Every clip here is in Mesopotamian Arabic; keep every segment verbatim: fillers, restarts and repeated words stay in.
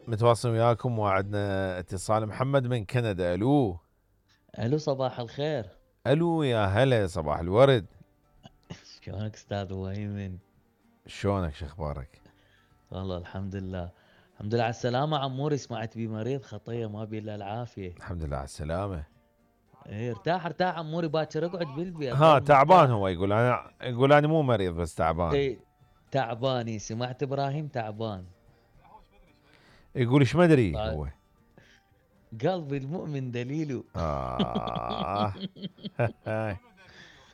متواصل وياكم وعدنا اتصال. محمد من كندا. الو الو صباح الخير. الو يا هلا صباح الورد. شلونك استاذ وهيمن؟ شلونك شو اخبارك؟ والله الحمد لله. الحمد لله على السلامة عموري، سمعت بي مريض خطية ما بي الا العافية. الحمد لله على السلامة. ايه ارتاح ارتاح عموري، باكر اقعد بالبيت ها ضل تعبان مرتاح. هو، يقول انا يقول انا مو مريض بس تعبان. ايه تعباني، سمعت ابراهيم تعبان. يقول ايش ما ادري طيب. هو. قلبي المؤمن دليله. آه.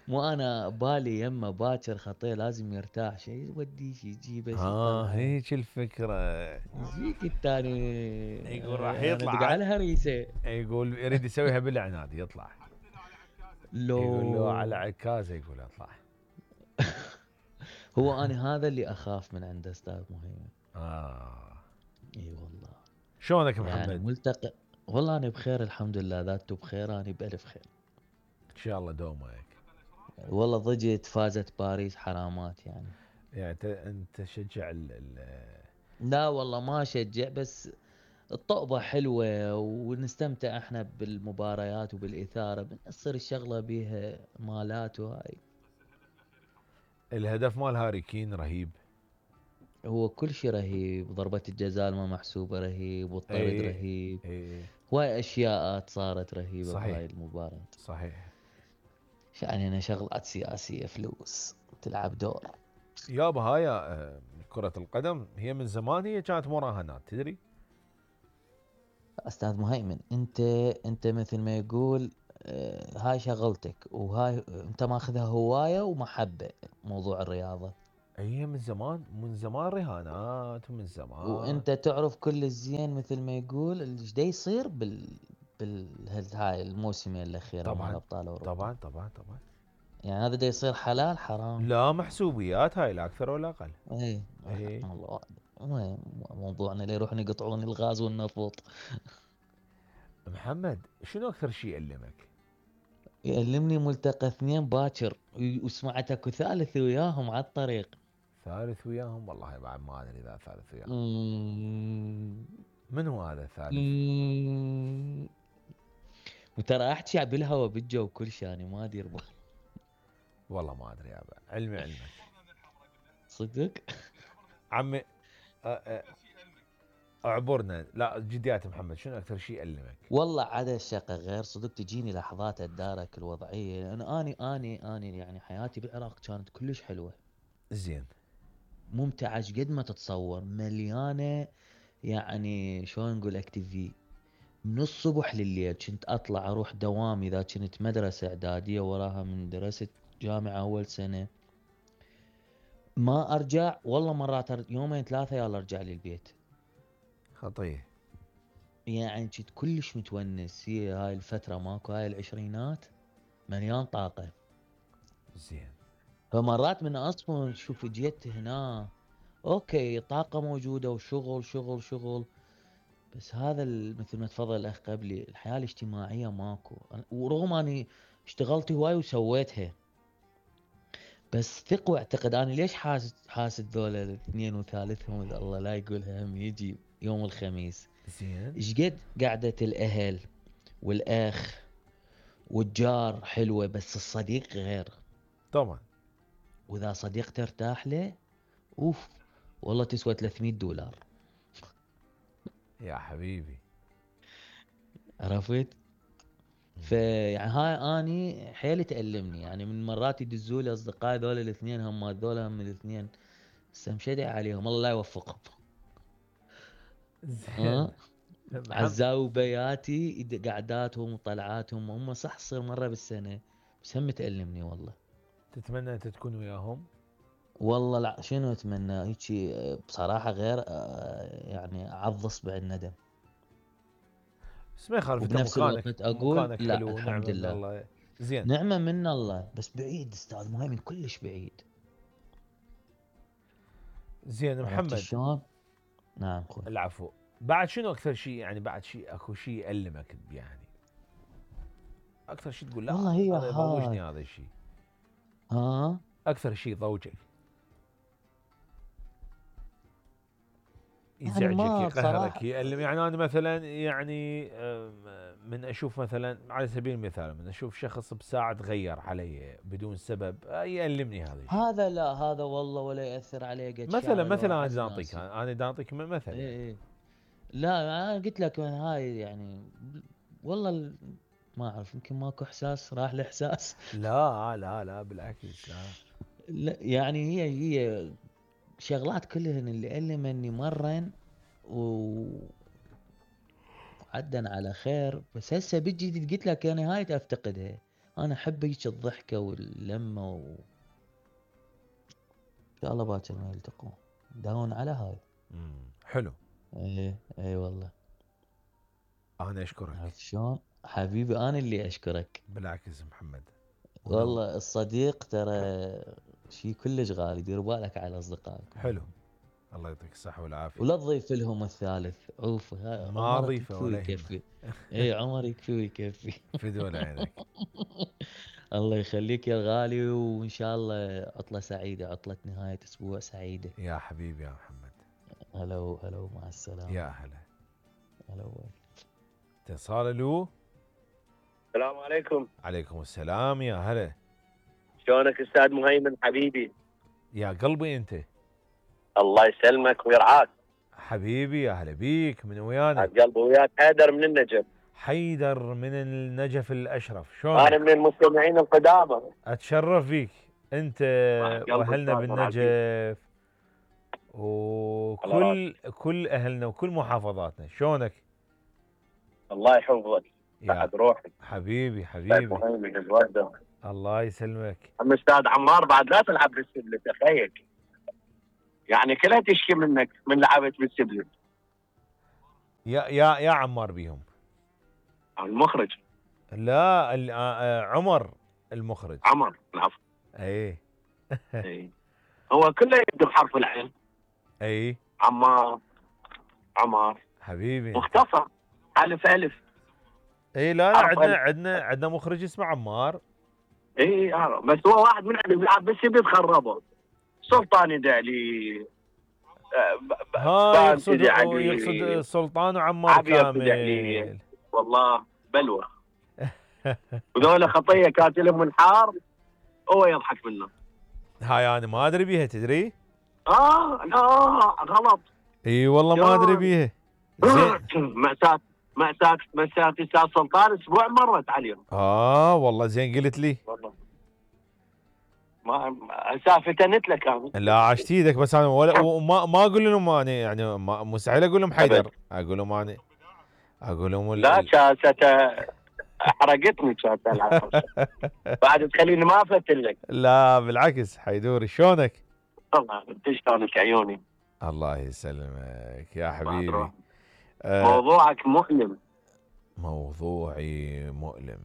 مو انا بالي يمه باكر خطيه لازم يرتاح، شيء يوديه شي يجيبه شي ها يطلعه. هيك الفكرة. يجيك الثاني. يقول راح انا يطلع دق على الهريسه. يقول يريد يسويها بالعناد يطلع. لو يقول له على عكازه يقول اطلع. هو انا هذا اللي اخاف من عنده استاذ مهيمن. اه اي والله. شلونك يعني محمد؟ ملتقى. والله انا بخير الحمد لله، ذاته بخير، انا بالف خير. ان شاء الله دومك. والله ضجت فازت باريس حرامات يعني. يعني انت انت تشجع ال ال لا والله ما اشجع، بس الطقبة حلوة ونستمتع احنا بالمباريات وبالإثارة، بنصير الشغلة بيها مالات وهاي. الهدف مال هاري كين رهيب. هو كل شيء رهيب، ضربة الجزاء ما محسوبة رهيب، والطرد اي رهيب. اي هواي اشياء صارت رهيبة بهاي صحيح المباراة. صحيح. يعني هنا شغلات سياسية فلوس تلعب دور. يابا هاي آه، كرة القدم هي من زمان هي كانت مراهنات تدري. استاذ مهيمن، انت انت مثل ما يقول آه، هاي شغلتك، وهاي انت ماخذها هواية ومحبة، موضوع الرياضة. هي من زمان من زمان رهانات ومن زمان. وانت تعرف كل الزين مثل ما يقول ايش دا يصير بال بال هاي الموسمين الاخيره مال طبعا ابطال اوروبا. طبعا طبعا طبعا. يعني هذا دا يصير حلال حرام. لا محسوبيات هاي لا اكثر ولا اقل. اي اي الله. وين موضوعنا اللي يروحون يقطعون الغاز والنفط. محمد شنو اكثر شيء يألمك؟ يألمني ملتقى اثنين باكر، وسمعت اكو ثالث وياهم على الطريق. ثالث وياهم والله بعد ما ادري اذا ثالث وياهم. مم. من هو هذا الثالث؟ مم. وترى احكي بالهوا بالجو كل شيء، يعني ما ادير بالي. والله ما ادري يابا، علمي علمك. صدق. عمي أ- أ- اعبرنا. لا جديات محمد شنو اكثر شيء يألمك؟ والله عدا الشقة غير صدق تجيني لحظات اتدارك الوضعية، لأن أني أني أني يعني حياتي بالعراق كانت كلش حلوة زين. ممتعة قد ما تتصور، مليانة. يعني شلون نقول اكتيفي، من الصبح لليل كنت أطلع أروح دوامي إذا كنت مدرسة إعدادية، وراها من درست جامعة أول سنة. ما أرجع والله، مرات أر- يومين ثلاثة يلا أرجع للبيت. خطيه. يعني كنت كلش متونس، هي هاي الفترة ماكو، هاي العشرينات مليان طاقة. زين. فمرات من اصلا شوف جيت هنا، اوكي طاقة موجودة وشغل شغل شغل، بس هذا ال- مثل ما تفضل الاخ قبلي، الحياة الاجتماعية ماكو. أنا- ورغم اني اشتغلت هواي وسويتها، بس ثق واعتقد انا ليش حاسد حاسد ذولا الاثنين وثالثهم إذا الله لا يقولها هم يجي يوم الخميس. زين. ايش قد قعدة الاهل والاخ والجار حلوة، بس الصديق غير. طبعا. واذا صديق ترتاح له، اوف، والله تسوى ثلاثمية دولار. يا حبيبي. عرفت؟ فيعني هاي اني حيل تألمني، يعني من مرات يدزوا لي اصدقائي ذول الاثنين، هم ذول هم الاثنين استمشدع عليهم الله لا يوفقهم. زين. ها محمد عزاو بياتي يد- قعداتهم وطلعاتهم، هم صح تصير مره بالسنه، بس هم تألمني والله. تتمنى انت تكون وياهم؟ والله لا شنو اتمنى هيجي بصراحه غير آه، يعني اعض اصبع الندم. بس ما يخالف انت وبنفس مكانك الوقت اقول مكانك لا حلو الحمد ونعمه من لله. الله. زين. نعمه من الله، بس بعيد استاذ مهيمن كلش بعيد. زين عرفت محمد. شلون؟ نعم خوي. العفو. بعد شنو اكثر شيء يعني بعد شيء اكو شيء يألمك يعني؟ اكثر شيء تقول لا والله هي هذا يضوجني هاي. هذا الشيء. ها اكثر شيء ضوجك. يعني يزعجك ما يقهرك بصراحة يألم. يعني انا مثلا يعني آم، من اشوف مثلا على سبيل المثال من اشوف شخص بساعة تغير علي بدون سبب آه، يألمني هذا الشيء. هذا لا، هذا والله ولا يأثر عليه قد مثلا شعره لو مثلا انا أعز دا اعطيك ناسي. انا دا اعطيك م- مثل إيه يعني. إيه. لا أنا قلت لك هاي يعني، والله ال- ما أعرف، يمكن ماكو إحساس، راح الإحساس. لا لا لا بالعكس لا. لا يعني هي هي شغلات كلهن اللي ألمني مرن و- وعدن على خير. بس هسه بيجي قلت لك يعني هاي أفتقدها. أنا أحب هيك الضحكة واللمة و... إن شاء الله باكر ما يلتقون. داون على هاي. مم. حلو. ايه ايه والله. انا اشكرك. عرفت شلون حبيبي؟ انا اللي اشكرك. بالعكس محمد. ولو والله الصديق ترى شيء كلش غالي، دير بالك على اصدقائك. حلو. الله يعطيك الصحة والعافية. ولا تضيف لهم الثالث، عوف ها ما عمرك اضيفه يكفي ولا يهمه. ويكفي. اي عمر يكفي ويكفي. فدوى عينك. الله يخليك يا الغالي، وان شاء الله عطلة سعيدة، عطلة نهاية اسبوع سعيدة. يا حبيبي يا محمد. هلا هلا، مع السلامة. يا هلا. هلا. اتصال له. السلام عليكم. عليكم السلام يا هلا. شلونك استاذ مهيمن حبيبي؟ يا قلبي انت. الله يسلمك ويرعاك. حبيبي يا هلا بيك. من ويانا؟ عاد قلبي وياك. حيدر من النجف. حيدر من النجف الاشرف. شلونك؟ انا من المستمعين القدامى. اتشرف بيك انت قلبي واهلنا أستاذ بالنجف وكل كل اهلنا وكل محافظاتنا. شلونك؟ الله يحفظك. يا بعد روحك. حبيبي استاذ حبيبي. مهيمن الوردة. الله يسلمك. اما استاذ عمار بعد لا تلعب بالسبلة تخيل. يعني كلها تشكي منك من لعبت بالسبلة. يا يا يا عمار بيهم. المخرج. لا ال- آه، آه، عمر المخرج. عمر العفو. اي إي. هو كله يبدو بحرف العين. اي عمار. عمار. حبيبي. مختصر. الف الف. اي لا لا حرف عندنا ألف. عندنا عندنا مخرج اسمه عمار. اي آه. بس هو واحد من اللي بيلعب بالسبلة خربه. سلطان يدعلي. آه، ب- ب- ها بان يقصد يدعلي. يقصد سلطان وعمار عبير تدعلي. كامل. والله بلوى. وذولا خطيه كانت لهم منحار. هو يضحك منه. هاي انا ما ادري بيها تدري؟ اه لا غلط. اي والله ما ادري بيها. زين. مأساة مأساة مأساة استاذ سلطان اسبوع مرت عليهم. اه والله زين قلت لي. والله ما سافتنت لك انا. لا عشت ايدك بس انا ولا وما ما اقول لهم انا يعني ما مستحيل اقول لهم حيدر. أبد. اقول لهم انا اقول لهم ال- لا ال- شاسته حرقتني شاسته العفو. بعد تخليني ما افتن لك. لا بالعكس. حيدوري شلونك؟ والله انت شلونك عيوني. الله يسلمك يا بعد حبيبي. روح. آه موضوعك مؤلم. موضوعي مؤلم.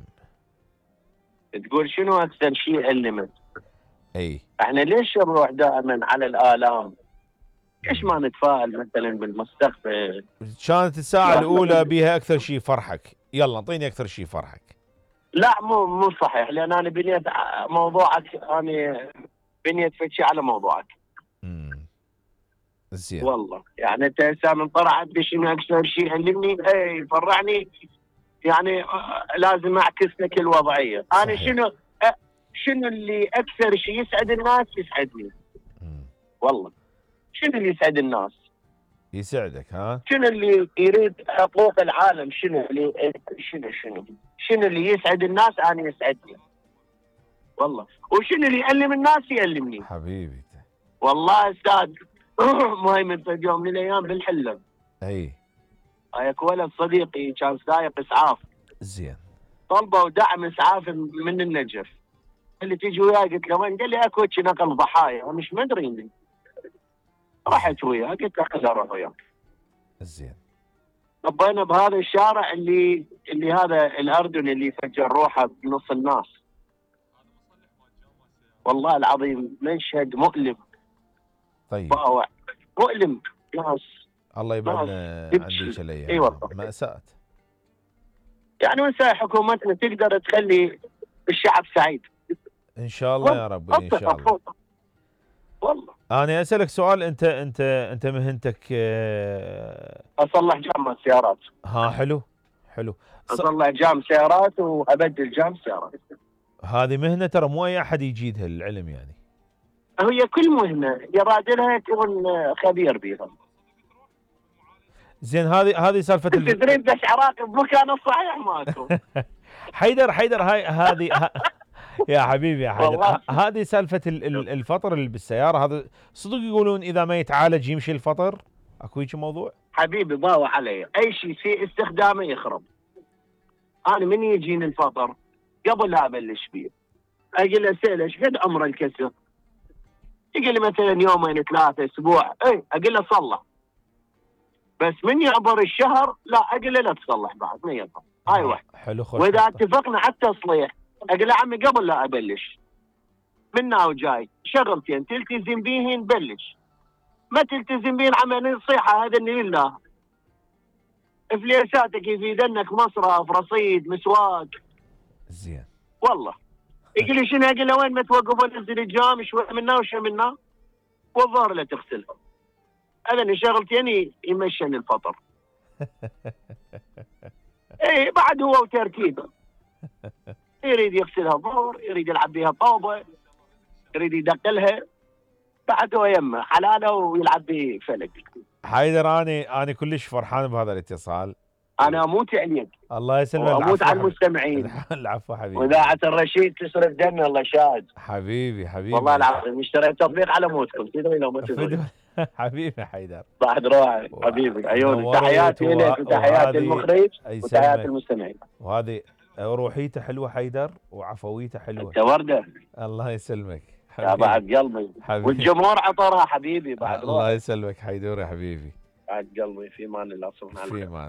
تقول شنو اكثر شيء ألمك؟ اي احنا ليش نروح دائما على الآلام؟ ليش ما نتفائل مثلا بالمستقبل؟ كانت الساعة لا. الأولى بيها أكثر شيء فرحك. يلا اعطيني أكثر شيء فرحك. لا مو مو صحيح، لان انا بنيت ع- موضوعك، انا بنيت فتشي على موضوعك. امم زين. والله يعني انت هسه من طلعت بشنو اكثر شيء علمني اي فرحني، يعني آه، لازم اعكس لك الوضعيه. انا صحيح. شنو أ- شنو اللي اكثر شيء يسعد الناس يسعدني. مم. والله شنو اللي يسعد الناس؟ يسعدك ها. شنو اللي يريد حقوق العالم؟ شنو اللي شنو شنو شنو اللي يسعد الناس انا يسعدني. والله وشنو اللي يألم الناس يألمني. حبيبي. والله استاذ مهيمن في يوم من الايام بالحلم اي هيك ولد صديقي كان سايق اسعاف، زين. طلبوا دعم اسعاف من النجف. قال لي تيجي وياي؟ قلت له وين؟ قال لي اكو هيك نقل ضحايا. انا مش مدري اني رحت وياه، قلت له خذ اروح وياك. زين. طبينا بهذا الشارع اللي اللي هذا الاردن اللي فجر روحه بنص الناس. والله العظيم مشهد مؤلم. طيب باوع مؤلم. ناس الله يبعدنا عن يبكي. ذيك الايام. اي والله. مأساة. يعني وسائل حكومتنا تقدر تخلي الشعب سعيد. ان شاء الله يا ربي ان شاء الله. والله. انا اسالك سؤال، انت انت انت مهنتك آه، اصلح جام السيارات. ها حلو حلو. ص- اصلح جام سيارات وابدل جام سيارات. هذه مهنه ترى مو اي احد يجيدها العلم يعني. هي كل مهنه يراد لها يكون خبير بيها. زين هذه هذه سالفه انت ال- تريد بس عراقي بمكانه الصحيح ماكو. حيدر حيدر هاي هذه ه- يا حبيبي يا حيدر، والله. ه- هذه سالفه ال- ال- الفطر اللي بالسياره، هذا صدق يقولون اذا ما يتعالج يمشي الفطر؟ اكو هيك موضوع؟ حبيبي ضاوى علي، اي شيء في استخدامه يخرب. انا من يجيني الفطر قبل لا ابلش فيه اقول له سيل ايش قد عمر الكسر؟ يقول لي مثلا يومين ثلاثه اسبوع، اي اقول له صلح. بس من يعبر الشهر لا اقول له لا تصلح بعد ما ينفع. هاي واحد. حلو خوش. واذا اتفقنا على التصليح اقول له عمي قبل لا ابلش من ناو جاي شغلتين تلتزم بيهن بلش، ما تلتزم بيهن عمي نصيحه هذا لله. فليساتك يفيدنك مصرف رصيد مسواق. زين والله يقول لي شنو؟ اقول له وين ما توقف انزل الجام شوي منا وشوي منا والظهر لا تغسلها. هذا شغلتين يمشن الفطر. ايه بعد هو وتركيبه. يريد يغسلها ظهر، يريد يلعب بها طوبه، يريد يدقلها، بعد هو يمه حلاله ويلعب بفلك. حيدر اني انا كلش فرحان بهذا الاتصال. انا اموت عليك الله يسلمك. واموت على العفو المستمعين. العفو حبيبي. واذاعه الرشيد تسرف دمي الله شاهد. حبيبي حبيبي والله العظيم اشتريت تطبيق على موتكم تدري لو ما تدري. فدوى. حبيبي حيدر. بعد روحي حبيبي عيوني، نورت تحياتي و- لك وتحياتي وهذه المخرج يسلمك. وتحياتي المستمعين. وهذه روحيته حلوه حيدر وعفويته حلوه. انت ورده الله يسلمك يا حبيبي. بعد قلبي. حبيبي. والجمهور عطرها حبيبي بعد الله روحي. يسلمك حيدر يا حبيبي. بعد قلبي في مان الله سبحانه في وتعالى. مان